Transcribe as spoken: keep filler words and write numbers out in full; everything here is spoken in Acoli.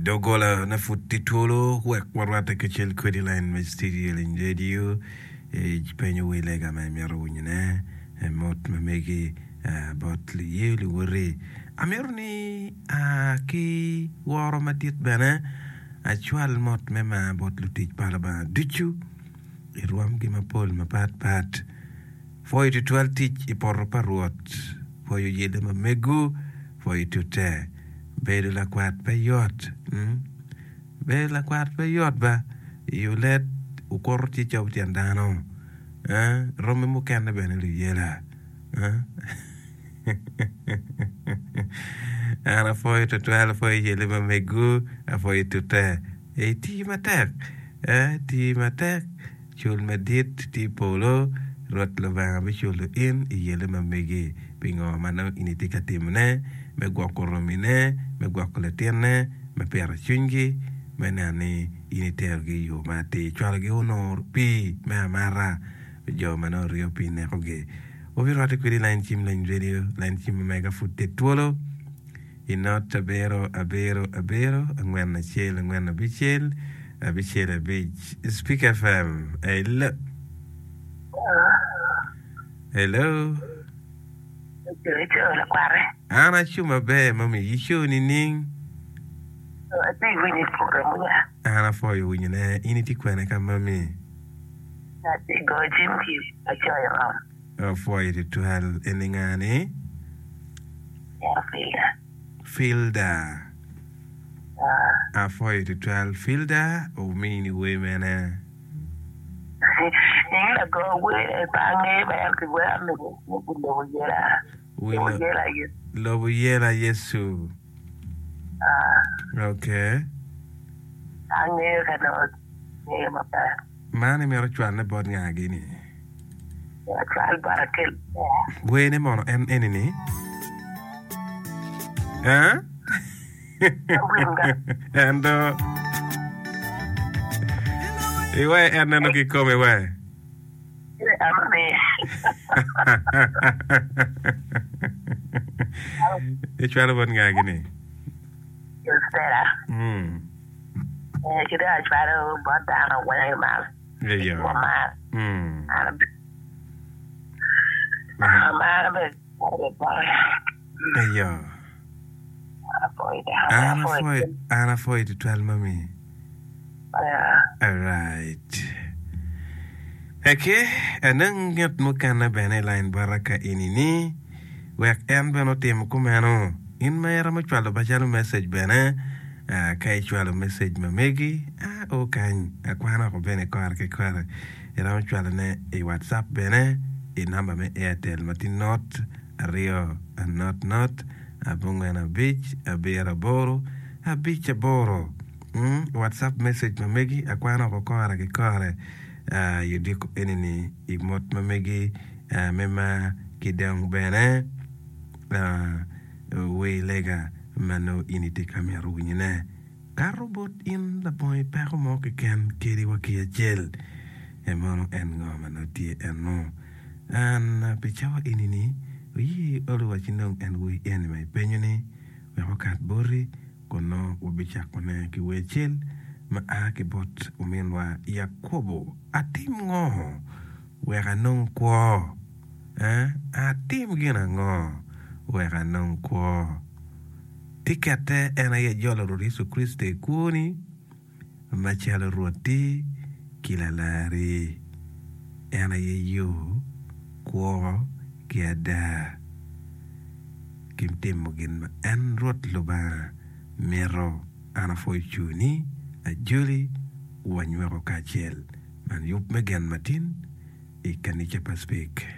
Doggola na pud tye twolo wek warwatte kacel kwedi line me studio liny radio penyo wer lega ma imito winyone mot ma megi bot luye luwoti. Amito ni ki woro madit bene acwal mot me mar bot lutic pa Lubanga ducu i rwomgi mapol mapat pat. Pwoyo tutwal tic i poto pa Rwot, pwoyo yelle ma mego, pwoyo tute. Bedo lakwat pe yot. Bedo lakwat pe yot ba. I olet okuto tye cobo tyen dano. Romi mukene bene luyela. An apwoyo tutwal, apwoyo yelle ma mego, apwoyo tute. Iti matek, ti matek. Cul madit tye i polo, Rwot Lubanga biculo in i yelle ma megi pi ngo ma nongo in itye ka timone, me gwoko romine, me gwoko latinne, me pito cwinygi, me neno ni in iterogi i yo ma atir. Cwalogi onongo pii me amata pi jo ma nongo oryo pii nekogi. Wabirwatte kwedi i lain cim Leny Radio, lain cim ma mega pud tye twolo. I not abiro abiro abiro angwen acel angwen abicel abicel abic Speak F M hello hello. Ico lakware. An aco maber mami ico nining? Atye winyo i program munya. An apwoyo winyo ne in itye kwene ka mami? Atye goyo cim ki acoyo ngom. Apwoyo tutwal eni nga ni? Ero Filda. Filda. Apwoyo tutwal Filda omini wer mene? Nying lago wer pe angeyo ma en kiwero ni Lobo Yela. Lobo Yela Yecu. Lobo Yela Yecu. Ok. Angeyo ka nongo ngeyo maber. Man imito cwalne bot nga gini? Acwal bot akel ber. Wene mono en eni ni? Eh? En do. Iwe en neno kikome we. Icwalo bot nga gini? Mm. Ci dong acwalo bot dano weng i malo. Eyo. Wamar. Mm. Amaro bene bote. Eyo. Apwoyo dano. An apwoyo, an apwoyo tutwal mami. Alright. Okay, anong ngat mukene bene i line bota ka eni ni wek en bene otim kumeno. In ma iromo cwalo macalo message bene, ah, ka icwalo message ma megi, ah, o kany, akwano oko bene kore ki kore. Iromo cwalone i WhatsApp bene i namba me Airtel ma tye not aryo not not abongwen abic abiro aboro abic aboro. Mm, WhatsApp message ma megi akwano oko kore ki kore ah, i odiko eni-ni i mot ma megi ah, me mar ki dong bene ah, wer lega ma nongo in itye ka mito winyone. Kato bot in labongo peko mo keken kadi wa ki acel. E mono en ngo ma nongo tye eno? An pi cawa eni-ni, oye olo wa ci nong en wer eni ma ipenyo ni wek okat boti, kun nongo wabicakone ki wer acel ma a ki bot ominwa Yakobo. Atim ngo wek anong kwo? Eh, atim gin ango wek anong kwo? Tikette en aye jolo Rwot Yecu Kricito i kwoni macalo Rwotti ki Lalarri. En aye yo, kwo, ki ada, ki timo gin ma en Rwot Lubanga mito. An apwoyo cuni, ajoli, wanywako kacel. Man yub me gen matin i kanica pa Speke.